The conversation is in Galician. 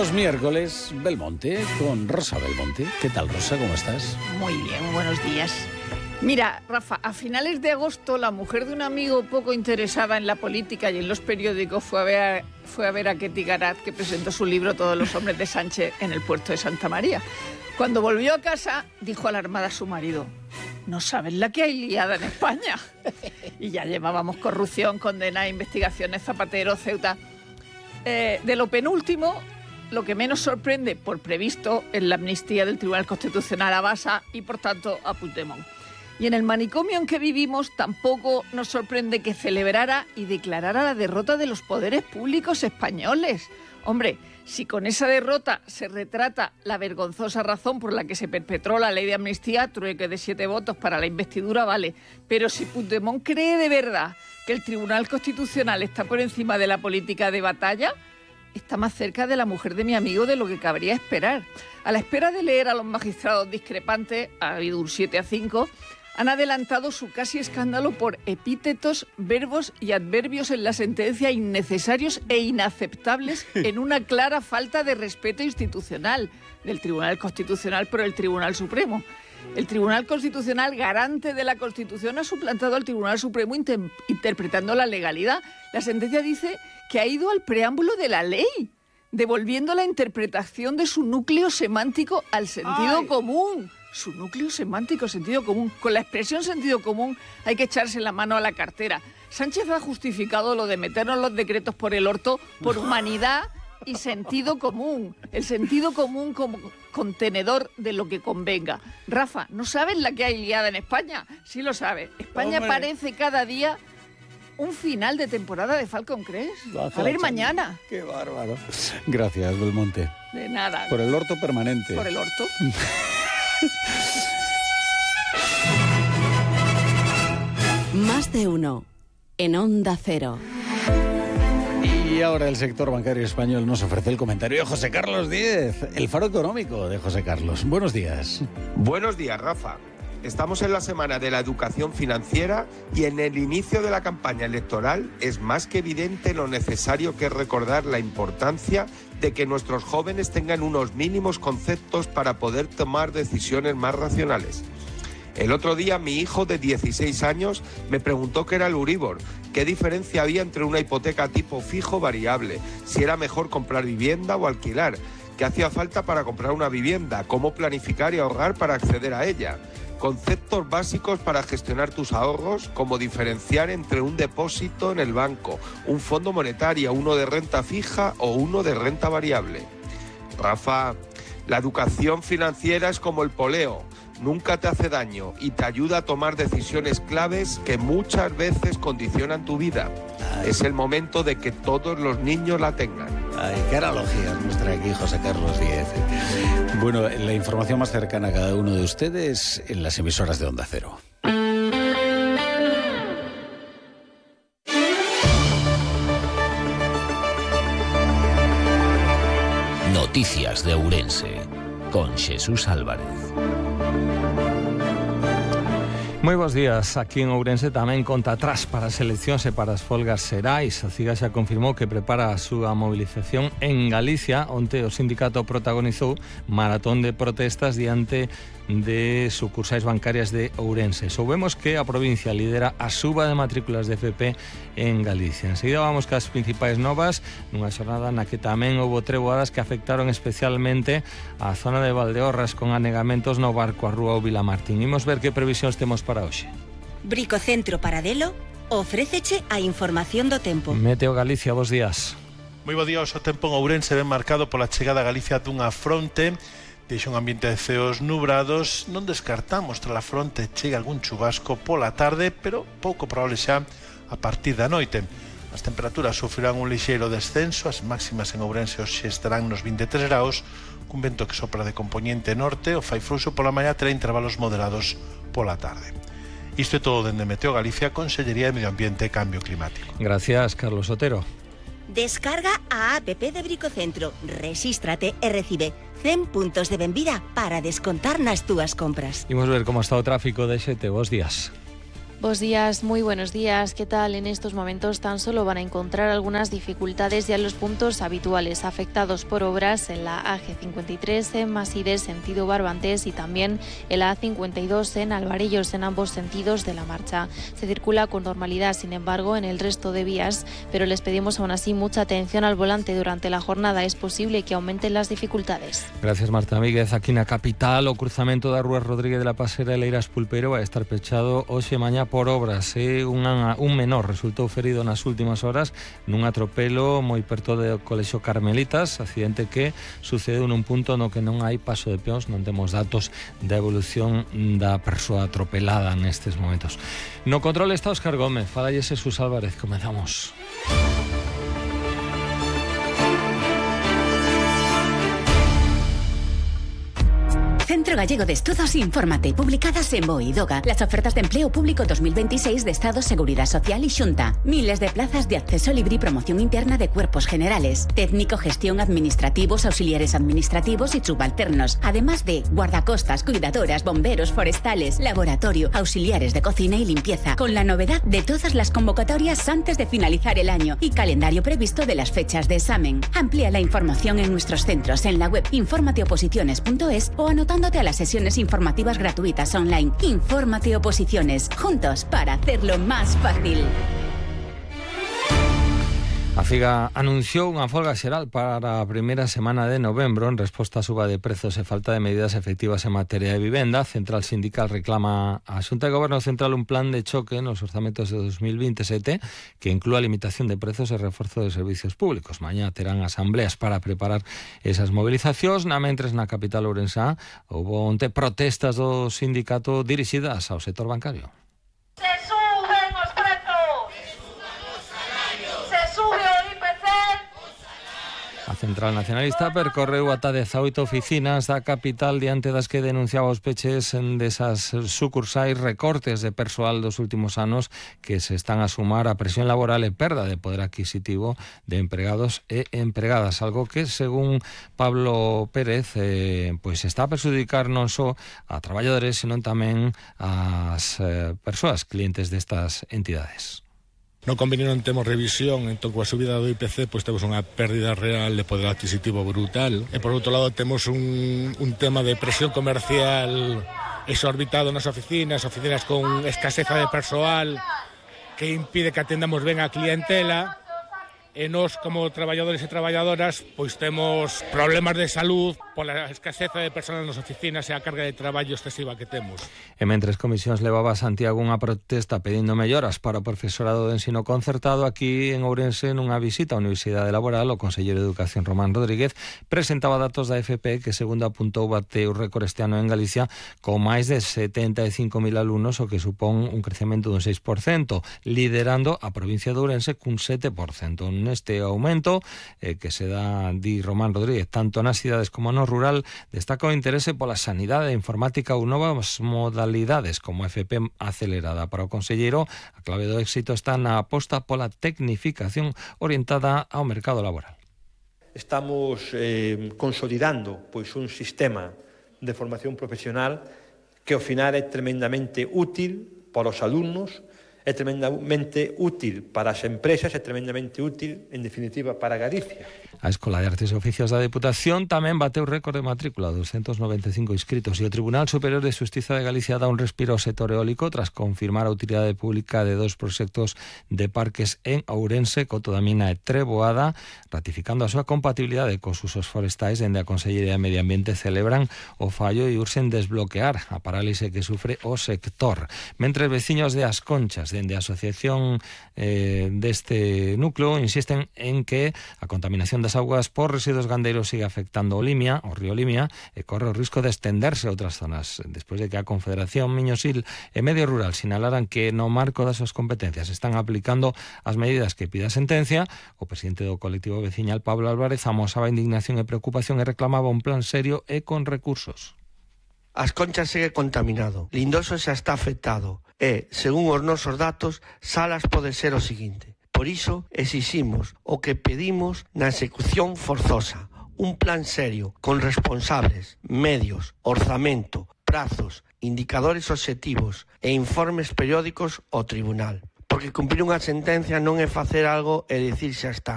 Los miércoles, Belmonte, con Rosa Belmonte. ¿Qué tal, Rosa? ¿Cómo estás? Muy bien, buenos días. Mira, Rafa, a finales de agosto la mujer de un amigo poco interesada en la política y en los periódicos fue a ver a Ketty Garat, que presentó su libro Todos los hombres de Sánchez en el puerto de Santa María. Cuando volvió a casa, dijo alarmada a su marido: no sabes la que hay liada en España. Y ya llevábamos corrupción, condena, investigaciones, Zapatero, Ceuta. De lo penúltimo, lo que menos sorprende, por previsto, es la amnistía del Tribunal Constitucional a Basa y, por tanto, a Puigdemont. Y en el manicomio en que vivimos tampoco nos sorprende que celebrara y declarara la derrota de los poderes públicos españoles. Hombre, si con esa derrota se retrata la vergonzosa razón por la que se perpetró la ley de amnistía, trueque de 7 votos para la investidura, vale. Pero si Puigdemont cree de verdad que el Tribunal Constitucional está por encima de la política de batalla, está más cerca de la mujer de mi amigo de lo que cabría esperar. A la espera de leer a los magistrados discrepantes, ha habido un 7-5, han adelantado su casi escándalo por epítetos, verbos y adverbios en la sentencia innecesarios e inaceptables en una clara falta de respeto institucional del Tribunal Constitucional por el Tribunal Supremo. El Tribunal Constitucional, garante de la Constitución, ha suplantado al Tribunal Supremo interpretando la legalidad. La sentencia dice que ha ido al preámbulo de la ley, devolviendo la interpretación de su núcleo semántico al sentido común. Su núcleo semántico, sentido común. Con la expresión sentido común hay que echarse la mano a la cartera. Sánchez ha justificado lo de meternos los decretos por el orto por humanidad y sentido común. El sentido común como contenedor de lo que convenga. Rafa, ¿no sabes la que hay liada en España? Sí lo sabes. España parece cada día un final de temporada de Falcon Crest. A ver mañana. Qué bárbaro. Gracias, Belmonte. De nada. Por el orto permanente. Por el orto. Más de uno en Onda Cero. Y ahora el sector bancario español nos ofrece el comentario de José Carlos Díez, el faro económico de José Carlos. Buenos días. Buenos días, Rafa. Estamos en la semana de la educación financiera y en el inicio de la campaña electoral es más que evidente lo necesario que es recordar la importancia de que nuestros jóvenes tengan unos mínimos conceptos para poder tomar decisiones más racionales. El otro día mi hijo de 16 años me preguntó qué era el Euribor, qué diferencia había entre una hipoteca tipo fijo o variable, si era mejor comprar vivienda o alquilar, qué hacía falta para comprar una vivienda, cómo planificar y ahorrar para acceder a ella. Conceptos básicos para gestionar tus ahorros, como diferenciar entre un depósito en el banco, un fondo monetario, uno de renta fija o uno de renta variable. Rafa, la educación financiera es como el poleo, nunca te hace daño y te ayuda a tomar decisiones claves que muchas veces condicionan tu vida. Es el momento de que todos los niños la tengan. Ay, qué analogías nos trae aquí José Carlos Díez. Bueno, la información más cercana a cada uno de ustedes en las emisoras de Onda Cero. Noticias de Ourense, con Jesús Álvarez. Moi bons días. Aquí en Ourense tamén conta atrás para as eleccións e para as folgas xerais. A CIGA xa confirmou que prepara a súa movilización en Galicia, onde o sindicato protagonizou maratón de protestas diante de sucursais bancarias de Ourense. Soubemos que a provincia lidera a suba de matrículas de FP en Galicia. Enseguida vamos cas principais novas nunha xornada na que tamén houbo treboadas que afectaron especialmente a zona de Valdeorras con anegamentos no barco a Rúa ou Vilamartín. Imos ver que previsións temos para hoxe. Bricocentro Paradelo ofréceche a información do tempo. Meteo Galicia, bos días. Moi bo día, o tempo en Ourense ben marcado pola chegada a Galicia dunha fronte. Deixa un ambiente de ceos nubrados. Non descartamos tras a fronte chega algún chubasco pola tarde, pero pouco probable xa a partir da noite. As temperaturas sufrirán un lixeiro descenso, as máximas en Ourense hoxe estarán nos 23 graus, cun vento que sopra de compoñente norte, o fai fluxo pola mañá terá intervalos moderados pola tarde. Isto é todo dende Meteo Galicia, Consellería de Medio Ambiente e Cambio Climático. Gracias, Carlos Otero. Descarga a app de Bricocentro, rexístrate e recibe 100 puntos de benvida para descontar nas túas compras. Imos ver como está o tráfico de Xete. Bos días. Buenos días, muy buenos días. ¿Qué tal? En estos momentos tan solo van a encontrar algunas dificultades ya en los puntos habituales afectados por obras en la AG53 en Maside, sentido Barbantes, y también en la A52 en Alvarellos, en ambos sentidos de la marcha. Se circula con normalidad, sin embargo, en el resto de vías, pero les pedimos aún así mucha atención al volante durante la jornada. Es posible que aumenten las dificultades. Gracias, Marta Míguez. Aquí na capital, o cruzamento da Rúa Rodríguez de la Pasarela Eiras Pulpeiro vai estar pechado hoxe e mañá por obras. Un menor resultou ferido nas últimas horas nun atropelo moi perto do Colexio Carmelitas, accidente que sucedeu nun punto no que non hai paso de peóns. Non temos datos da evolución da persoa atropelada nestes momentos. No control está Óscar Gómez, falalle Xesús Álvarez. Comezamos. Centro Gallego de Estudos Infórmate, publicadas en BOE y DOGA, las ofertas de empleo público 2026 de Estado, Seguridad Social y Xunta. Miles de plazas de acceso libre y promoción interna de cuerpos generales, técnico, gestión, administrativos, auxiliares administrativos y subalternos, además de guardacostas, cuidadoras, bomberos, forestales, laboratorio, auxiliares de cocina y limpieza, con la novedad de todas las convocatorias antes de finalizar el año y calendario previsto de las fechas de examen. Amplía la información en nuestros centros en la web informateoposiciones.es o anotándote a las sesiones informativas gratuitas online. Infórmate Oposiciones, juntos para hacerlo más fácil. A Figa anunciou unha folga xeral para a primeira semana de novembro en resposta á suba de prezos e falta de medidas efectivas en materia de vivenda. A Central Sindical reclama á Xunta de Goberno Central un plan de choque nos orzamentos de 2027 que inclúa limitación de prezos e reforzo de servicios públicos. Mañá terán asambleas para preparar esas movilizacións. Mentres na capital ourensá houve onte protestas do sindicato dirixidas ao sector bancario. A Central Nacionalista percorreu ata 18 oficinas da capital diante das que denunciaba os peches desas sucursais, recortes de persoal dos últimos anos que se están a sumar a presión laboral e perda de poder adquisitivo de empregados e empregadas, algo que, según Pablo Pérez, pois está a perxudicar non só a traballadores, senón tamén ás persoas clientes destas entidades. No convenio non temos revisión, entón coa subida do IPC pois temos unha pérdida real de poder adquisitivo brutal. E por outro lado temos un tema de presión comercial exorbitado nas oficinas con escaseza de persoal que impide que atendamos ben a clientela. E nós, como traballadores e traballadoras, pois temos problemas de salud pola escaseza de persoal nas oficinas e a carga de traballo excesiva que temos. E mentres Comisións levaba a Santiago unha protesta pedindo melloras para o profesorado de ensino concertado, aquí en Ourense, nunha visita á Universidade Laboral, o conselleiro de Educación Román Rodríguez presentaba datos da FP que, segundo apuntou, bateu récord este ano en Galicia con máis de 75.000 alumnos, o que supón un crecemento dun 6%, liderando a provincia de Ourense cun 7%. Neste aumento que se dá, di Román Rodríguez, tanto nas cidades como no rural, destaca o interese pola sanidade, informática ou novas modalidades como FP acelerada. Para o conselleiro, a clave do éxito está na aposta pola tecnificación orientada ao mercado laboral. Estamos consolidando pois un sistema de formación profesional que ao final é tremendamente útil para os alumnos, é tremendamente útil para as empresas, é tremendamente útil, en definitiva, para Galicia. A Escola de Artes e Oficios da Deputación tamén bateu récord de matrícula, 295 inscritos, e o Tribunal Superior de Xustiza de Galicia dá un respiro ao sector eólico tras confirmar a utilidade pública de 2 proxectos de parques en Ourense, Coto da Mina e Treboada, ratificando a súa compatibilidade cos usos forestais. Dende a Consellería de Medio Ambiente celebran o fallo e urxen desbloquear a parálise que sufre o sector. Mentres veciños de As Conchas, dende a asociación deste núcleo, insisten en que a contaminación das augas por residuos gandeiros sigue afectando o río Limia, e corre o risco de estenderse a outras zonas, despois de que a Confederación Miñosil e Medio Rural sinalaran que no marco das súas competencias están aplicando as medidas que pide a sentencia. O presidente do colectivo veciñal, Pablo Álvarez, amosaba indignación e preocupación e reclamaba un plan serio e con recursos. As Conchas segue contaminado, Lindoso xa está afectado e, según os nosos datos, Salas pode ser o seguinte. Por iso exiximos o que pedimos na execución forzosa, un plan serio, con responsables, medios, orzamento, prazos indicadores obxectivos e informes periódicos ao tribunal. Porque cumprir unha sentencia non é facer algo e dicir xa está.